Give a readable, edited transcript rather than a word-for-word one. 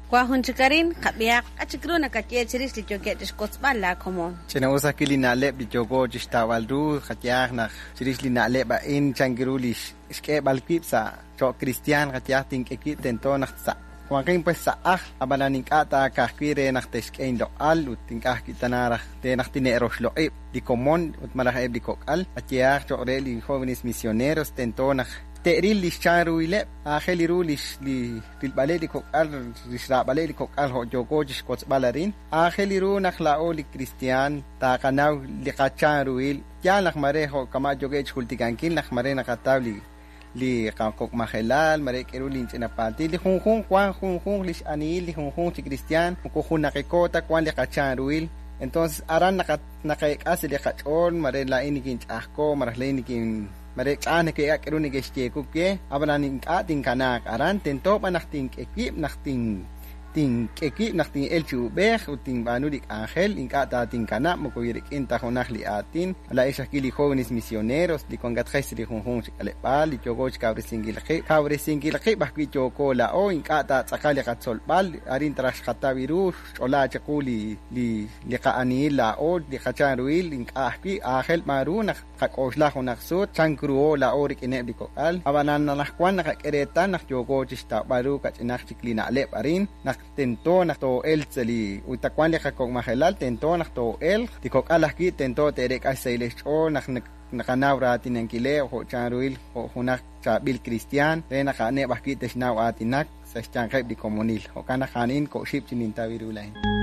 Wan jun chik arin, qab'ihaq. K'a' chik ru nakaye chirix li yookeb' chixwotzb'al laa komon? Ch'ina'us ajwi' li na'leb' li yooko chixtawb'al ru, qayehaq naq chirix li na'leb' a'in chan ru li xk'eeb'al wib' sa' cho'q kristiaan, qayehaq tink'e wib' tento naq sa' wanqin pues sa' ajl, ab'anan ink'a' ta ka'ajwi' re naq te'xk'e inloq'al ut ink'a' ajwi' tana raj re naq tine'roxloq'ib' li komon ut malaj eb' li kok'al, qayehaq cho'q re li jóvenes misioneros tento naq te'ril li xchanruhileb', aajel ru li rilb'aleb' li kok'al, li xraab'aleb' li kok'al jo' yooko chixwotzb'al arin, aajel ru naq laa'o li kristiaan taqanaw li qachanruhil, yaal naq mare jo' kama' yookeb' chixjultikankil naq mare naqataw li qakok'majelal, mare k'eru li ch'ina paltil, li junjunq wan junjunq li x'anihil li junjunq chi kristiaan, moko junaqiko ta wan li qachanruhil. Entonces aran naqeek'a sa' li qach'ool, mare laa'in nikinch'ajko, malaj laa'in nikin mare ch'a'aj neke'ek'a k'eru neke'xyeeku we, ab'anan ink'a' tinkanaaq aran, tento b'an naq tink'e wib', naq tink'e wib', naq tin'el chi ub'ej ut tinb'aanu li k'anjel, ink'a' ta tinkanab' moko rik'in ta junaq li aatin. Laa'ex ajwi' li jóvenes misioneros li wankatqex sa' li junjunq chi k'aleb'aal, li yooko chikawresinkil qib', kawresinkil qib' ajwi' yooko laa'o, ink'a' ta tz'aqal li qatzolb'al, arin taraj xqataw ru, xch'olaa chiqu li qa'anihil laa'o, li qachanruhil, ink'a' ajwi' aajel b'an ru naq qak'oxla junaq sut, chan ruho laa'o rik'ineb' li kok'al, ab'anan anaqwan naqak'e reetal naq yooko chixtawb'al ru kach'inaq chik li na'leb' arin, naq tento naq too'elq sa' li ut wan li qakok'majelal, tento naq too'elq, li kok'al ajwi' tento te'reek'a xsahil xch'ool naq naqanaw raatinankileb' jo' chanruhil jo' junaq chaab'il kristiaan, re naq a'aneb' ajwi' te'xnaw aatinak sa' xyanqeb' li komonil. Jo'kan naq a'in ko'xib' chi nintaw ru laa'in.